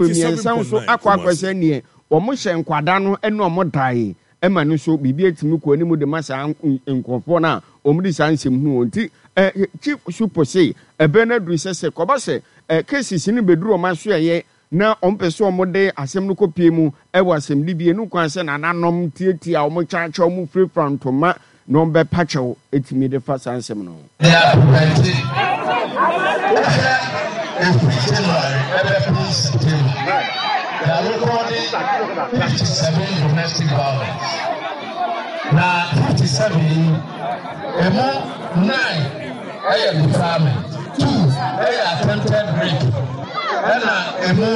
Mmiɛnsa nso akɔ akɔ sɛ neɛ wɔn hyɛ nkwadaa no ne wɔn dae ma no nso biribi atumi kɔ anim de ma saa nkurɔfoɔ no a wɔn de saa nsɛm hu wɔn nti Chief Supo se ɛbɛn no aduru sɛ sɛ kɔba sɛ cases no bɛduru wɔn asoɛeɛ na wɔn pɛ sɛ wɔn de asɛm no kɔ pie mu wɔ asɛmdibie no kwan sɛ nananom tiatia wɔn kyakyɛ wɔn firafira ntoma na wɔn bɛpa kyɛw tumi de fa saa nsɛm no ho. De aprevɛnte. Wohwɛ ɛfiri January ɛbɛpem September, yɛarekɔɔde 57 domestic violence. Na 57 yi, ɛmu 9 ɛyɛ defilement, 2 ɛyɛ attempted rape, ɛna ɛmu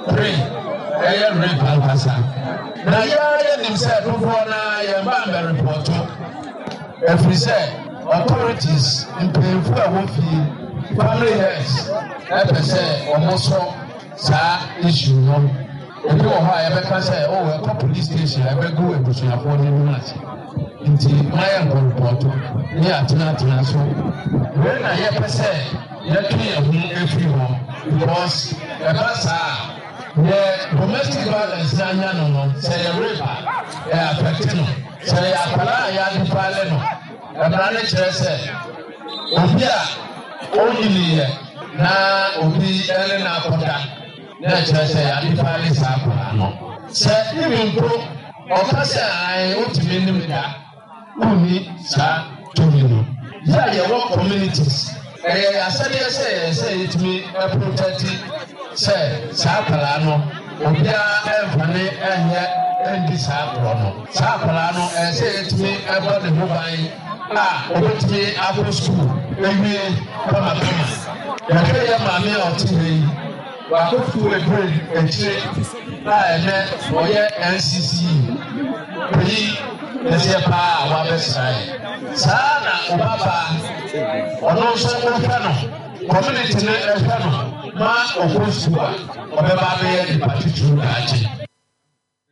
3 ɛyɛ rape ankasa. Na yɛn ara yɛnim sɛ dodoɔ no ara yɛn ba mmɛrepɔto ɛfiri sɛ authorities, mpanyinfoɔ a ɛwɔ fie, family heads ɛpɛ sɛ wɔn sɔ saa issue no. Ebi wɔ hɔ a yɛbɛka sɛ oh ɛkɔ police station a ɛbɛgu abusuafoɔ no anim ase nti ma yɛn nkɔ repɔto ne yɛatenatena so. Wei na yɛpɛ sɛ yɛtwe yɛn ho efiri hɔ because ɛba saa a. Deɛ domestic violence no anya no no, sɛ ɛyɛ rape a, ɛ affect no. Sɛ ɛyɛ akwadaa a yɛadefile no, mmara no kyerɛ sɛ obi a ɔnyiniiɛ na obi ne no akɔda na ɛkyerɛ sɛ yɛadefile saa akwadaa no. Sɛ even mpo ɔka sɛ ae wotumi ne me da, Wonni saa tumi no. Yɛ a yɛwɔ communities, ɛyɛ yɛn asɛdeɛ sɛ yɛn sɛ yɛtumi protɛti sɛ saa akwadaa no obiara ɛmfa ne ɛnyɛ ɛndi saa agorɔ no. Saa akwadaa no ɛyɛ sɛ yɛtumi ɛbɔ ne ho ban a ɔbɛtumi akɔ sukuu awie kamakama. Yɛhwɛ yɛn maame a ɔte ha yi. Wakɔtu aduru akyire a ɛnɛ ɔyɛ NCCE panyin kɛseɛ paa a wabɛsra yɛn. Saa na ɔbabaa ɔno nso wohwɛ no, community no hwɛ no ma ɔkɔ sukuu a, ɔbɛba abɛyɛ nipa titiriw daakye.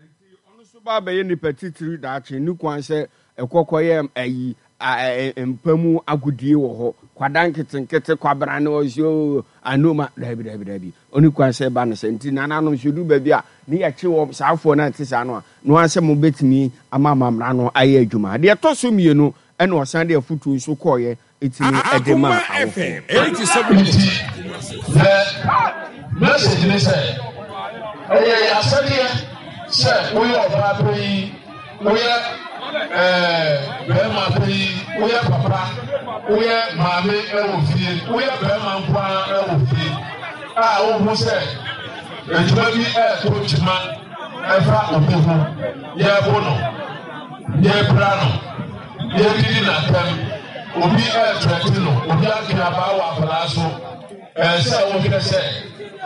Enti ɔno nso ba bɛyɛ nipa titiriw daakye. Nni kwan sɛ ɛkɔ kɔyɛ ayi a mpa mu agodie wɔ hɔ. Kwadaa nketenkete, kwabena ne ɔse oo anoma. Daabi, daabi, daabi. Ɔnni kwan sɛ ɛba no saa. Nti nananom sɛ ɛduru baabi a ne yɛkye wɔn, saa afoɔ no a ɛte saa no a, no ara sɛ mobɛtumi ama amammerɛ no ayɛ adwuma. Deɛ ɛtɔ so mmienu, ɛna ɔsan de afotuo nso kɔeɛ tumi de maa Akoma awofoɔ. FM 87.9 Nti Kumasi. the message ne sɛ, ɛyɛ yɛn asɛdeɛ sɛ woyɛ ɔbaa panyin, woyɛ ɛɛ bɛrima panyin, woyɛ papa, woyɛ maame wɔ fie, woyɛ bɛrima nko ara wɔ fie a wohu sɛ adwuma bi ɛreto kyima ɛfa obi ho, yɛrebo no, yɛrepira no. Yɛdidi no atɛm, obi ɛɛtrɛte no, obi atwe abaa wɔ akwadaa so. Ɛyɛ sɛ wohwɛ sɛ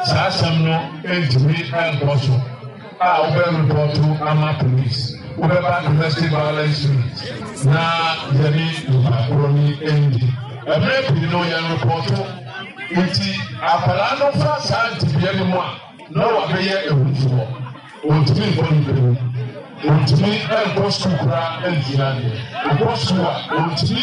saa asɛm no ntumi nkɔ so a, wobɛ repɔto ama police, wobɛba domestic violence unit na yɛne nipa korɔ no ndi. Mmerɛ pii no yɛn repɔto nti akwadaa no fa saa ntebea no mu a na wabɛyɛ ahufoɔ. Ontumi nkɔ nipa mu. Ontumi nkɔ sukuu koraa nsua adeɛ. Ɔkɔ sukuu a, ontumi.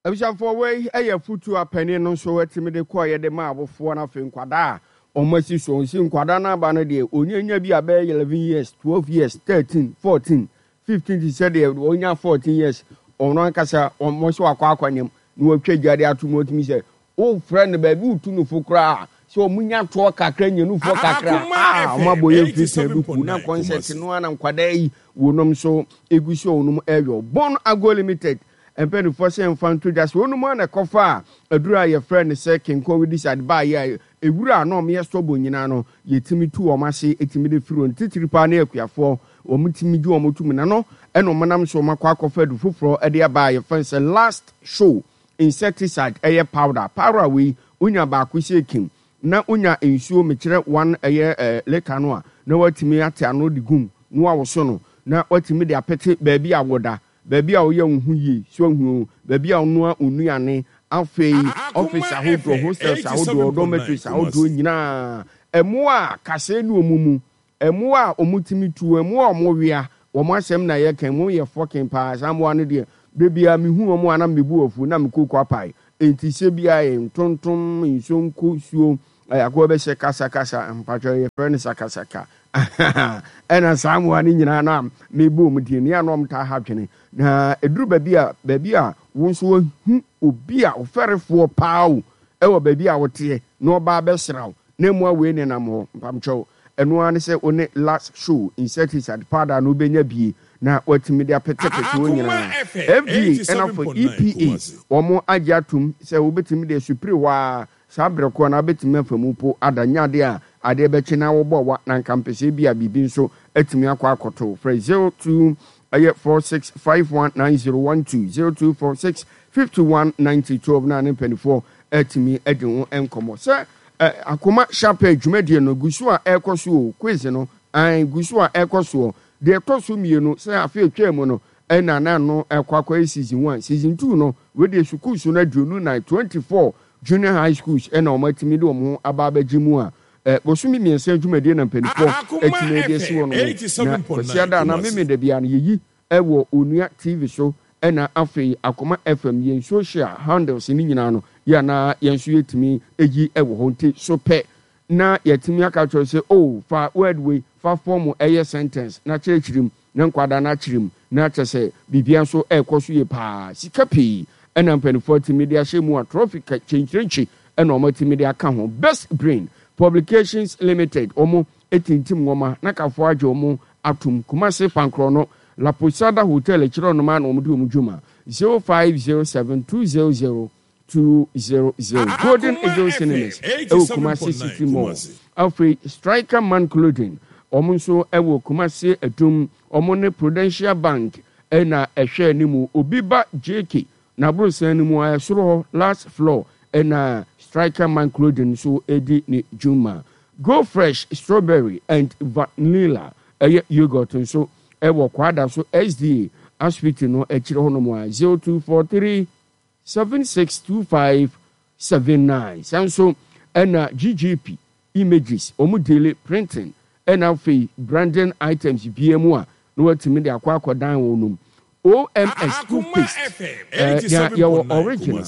Abusuafoɔ wei yɛ afutuo a panin no nso tumi de kɔeɛ de maa awofoɔ no afei nkwadaa a wɔn asi so nsi nkwadaa no aba no deɛ ɔnya bi a bɛyɛ 11 years 12 years 13 14 15 te sɛ deɛ ɔnya 14 years ɔno ankasa wɔn nso akɔ akɔnyam na wɔatwa gya de ato mu ɔtumi sɛ Wofrɛ no baabi wotu no fo koraa a, sɛ ɔmo nya toɔ kakra nya nufoɔ kakra Akoma a, ɔmo FM abɔ yɛn firi pɛn du ku na 87.9 kɔnsɛt Kumasi. no ara na nkwadaa yi wɔnom nso egu so a wɔnom ɛyɔ. Bon Ago Limited mpaninfoɔ sɛ yɛmfa nto dwa sɛ wɔnom ara na ɛkɔfaa aduro a yɛfrɛ no sɛ Kenkɔ Weedicide baeɛ a ewura a na wɔn yɛ stubborn nyinaa no yɛtumi tu wɔn ase tumi de firi wɔn titiri paa ne akuafoɔ wɔn tumi gye wɔn to mu na no ɛna wɔn nam so wɔn akɔ akɔfa adu foforɔ de aba a yɛfrɛ no sɛ Last Show Insecticide ɛyɛ powder powder wei wonya baako sɛ kim na wonya nsuo mekyerɛ one ɛyɛ eh, liter no a na watumi ate ano de gum na wawoso no na watumi de apete baabi a woda baabi a woyɛ wo ho yie so ahu o baabi a wonoa wo nnuane afei office Akoma ahodoɔ FM hostels ahodoɔ 87.9 dormitories ahodoɔ Kumasi. nyinaa ɛmoa a kasɛɛ ne ɔmu mu Mmoa a wɔtumi tu, mmoa a wɔwea, wɔn asɛm na yɛka, wɔn yɛ fɔkin paa, saa mmoa no deɛ, da biara mehu wɔn a na me bo afu, na me koko apae. Enti sɛ biara yɛ ntontom, nsonko, suo, Akoa bɛhyɛ kasakasa, mpakyɛw yɛfrɛ no sakasaka. Ɛna saa mmoa no nyinaa no a mebɔ wɔn din no, yɛ a na wɔtaa ha adwene. Na ɛduru baabi a, baabi a wo nso woahu obi a ɔfɛrefoɔ paa o, ɛwɔ baabi a woteɛ na ɔba abɛsra wo, na mmoa wei nenam hɔ, mpakyɛw, ɛno ara ne sɛ wo ne Last Show insecticide powder no wobɛnya bie na woatumi de apetepete hɔ nyinaa. FDA ɛna afei EPA wɔn agye atom sɛ wobɛtumi de asupire hɔ ara Saa berɛ korɔ no ara bɛtumi afa mu mpo ada nyɛ adeɛ a adeɛ bɛkye na wobɔ wa na anka mpɛ sɛ ebia biribi nso atumi akɔ akɔto wo. Frɛ 02 ɛyɛ 46 51 90 12, 0246 51 90 12 na ne mpaninfoɔ atumi adi ho nkɔmmɔ. Sɛ ɛ Akoma Hyapɛ dwumadie no gu so a ɛrekɔ so o, quiz no, ae, gu so a ɛrekɔ soɔ. Deɛ ɛtɔ so mmienu, sɛ afe atwaa mu no ɛna na ɛno ɛrekɔ akɔyɛ season one. Season two no, wei deɛ sukuu so no 24, 24 Junior High Schools na wɔn atumi de wɔn ho aba abɛgye mu a, bosome mmiɛnsa dwumadie na mpaninfoɔ atumi de asi hɔ nom. Na Kwasiada anaa Memenda biara no yɛyi wɔ Onua TV so ɛna afei Akoma FM yɛn social handles no nyinaa no yɛ a na yɛn nso yɛtumi yi wɔ hɔ nti so pɛ na yɛatumi aka akyerɛ wo sɛ oh fa word wei fa form ɛyɛ sentence na kyerɛkyerɛ mu na nkwadaa no akyerɛ mu na kyerɛ sɛ biribiara nso ɛrekɔ so yie paa. Sika pii na mpanimfoɔ atumi de ahyɛ mu a trɔfi kyenkyerenkye na wɔatumi de aka ho. Best Brain Publications Limited wɔn tintim nwoma na kafoɔ agye wɔn atom. Kumasi Pankorɔ La Posada Hotel akyire hɔnom ara na wɔde wɔn dwuma. 0507 200 200 Golden Eagle Cinemas ɛwɔ Kumasi City Mall. Afei Striker Man Clothing, wɔn nso ɛwɔ Kumasi Adum, wɔn ne Prudential Bank ɛna ɛhwɛ anim. Obi ba JK n'aborosan no mu a ɛsoro hɔ last floor ɛna Striker Man Clothing nso ɛdi ne dwuma. Go Fresh Strawberry and Vanilla ɛyɛ yogurt nso ɛwɔ Kwadaso SDA Asupiti no akyire hɔnom a 0243 762579 Saa nso na GGP Images, wɔn deale printing ɛna afei branding items biara mu a na watumi de akɔ akɔdan wɔn nom. OMS toothpaste, ɛɛ nea yɛwɔ original,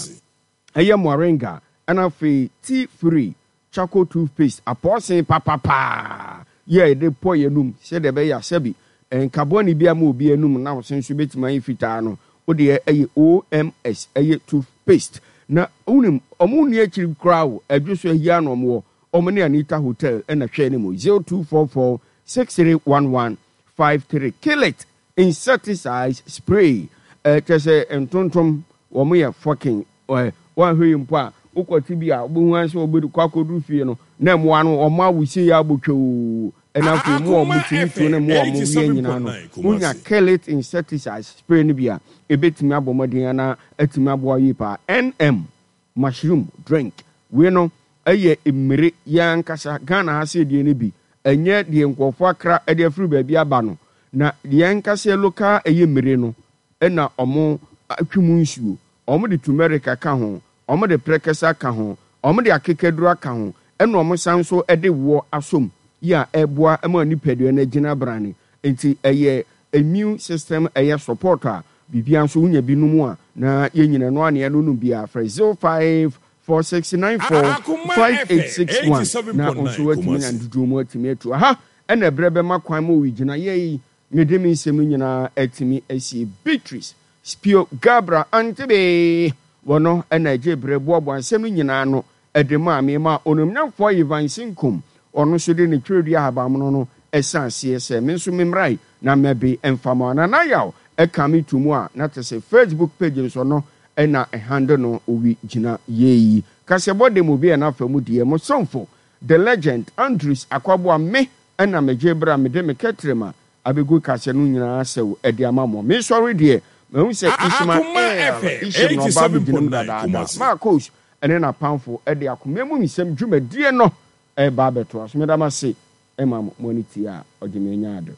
ɛyɛ moringa ɛna afei tea free Charcoal toothpaste, apɔɔsen papapaa yi a yɛde pɔ yɛn anum sɛdeɛ ɛbɛyɛ a sɛbi nka bɔne biara mma obi anum na wo se nso bɛtumi ayɛ fitaa no, wo deɛ ɛyɛ OMS, ɛyɛ toothpaste. Na wonim, wɔn nni akyiri koraa o, Adwo so ahi ara na wɔn wɔ, wɔn ne Anita Hotel na hwɛ anim, 0244 6311 53. Kill it! Insecticides spray, kyerɛ sɛ ntontom, wɔn yɛ fucking Ɛ, woanhwɛ yie mpo a, wokɔte bi a, wobɛhu ara sɛ wɔbɛkɔ akɔduru fie no, na mmoa no, wɔn awusie yɛ abɔ twɛw. Ɛna afei mmoa a wɔtumi tuo ne mmoa a wɔwea nyinaa no, wonya Kellet insecticide spray no bi a, ɛbɛtumi abɔ mmɔden anaa atumi aboa yie paa. NM, mushroom drink, wei no yɛ mmire, yɛn ankasa Ghana ha sei deɛ no bi, ɛnyɛ deɛ nkurɔfoɔ akra de afiri baabi aba no, na yɛn ankasa yɛ local ɛyɛ mmire no na wɔatwe mu nsuo. Wɔde turmeric aka ho, wɔde prɛkɛsɛ aka ho, wɔde akekaduro aka ho, ɛna wɔsan nso de woɔ asɔ mu yi a ɛboa ma nipadua no agyina brane. Nti ɛyɛ immune system ɛyɛ support a biribiara nso wonya bi nom a na yɛn nyina ɛno ara na yɛnonom biara. Frɛ 0546945861 na wo nso woatumi anya ndodoɔ mu atumi atu. Aha ɛna ɛberɛ bɛma kwan ma owigyinaeɛ yi mede me nsɛm nyinaa atumi asie. Beatrice Spio Gabra Antebe, Wɔno na ɛgyee berɛ boaboaa nsɛm no nyinaa ano de maa me maa Onimnyamfoɔ Ivan Sinkum, ɔno nso de ne twerɛdua ahabammono no san aseɛ sɛ me nso memmrae na mɛbe mfa ma Nana Yaw ka me to mu a na te sɛ Facebook page nso ɔno na ɛhandle no owi gyina yei kaseɛbɔ de mu bi a n'afa mu deɛ mo somfo The Legend Andrews Akwaboah me na megyee berɛ a mede me kɛtrɛma Abegu kaseɛ no nyinaa asɛw de ama mo. Me sɔre deɛ, mahu sɛ Ishmael Ishim na ɔba abɛgyina mu dadaada. Marcos ne n'apamfo de akoma mu nsɛm dwumadie no reba abɛtoa so. Meda mo ase ma mo ani tie a ɔgye me anya ade.